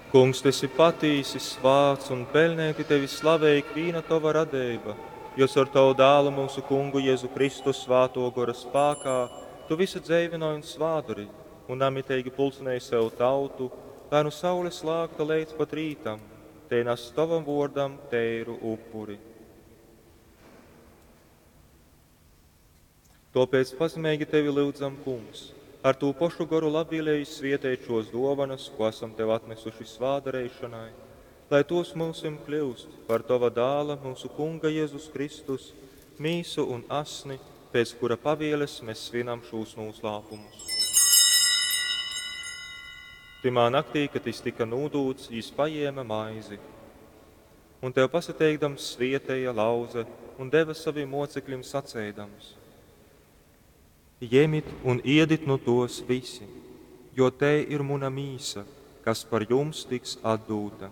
Kungs, tu esi patīsi svāts un peļneiti tevi slavej ikvīna tova radeiba, jo caur tavu Dālu, myusu Kungu Jezu Kristu, Svātō Gora spākā tu vysu dzeivynoj un svādori un namiteigi pulcynej sev tautu, lai nu saules lākta leidz pat rītam tei nas tovam vōrdam teiru upuri. Tōpēc pazemeigi tevi lyudzam, Kungs, ar tū pošu goru labvēlīgi svieteit šos dōvanas, ko esam tev atnesuši svādareišanai, lai tos myusim kļūst par tova dāla, mūsu Kunga Jēzus Kristus, mīsu un asni, pēc kura pavieles mēs svinam šūs noslēpumus. Tymā naktī, kad jis tika nūdūts, jis paņēma maizi un tev pasateikdams svietēja lauze un deva saviem mocekļiem saceidams: Jemit un iedit nu tos visi, jo te ir muna mīsa, kas par jums tiks atdūta.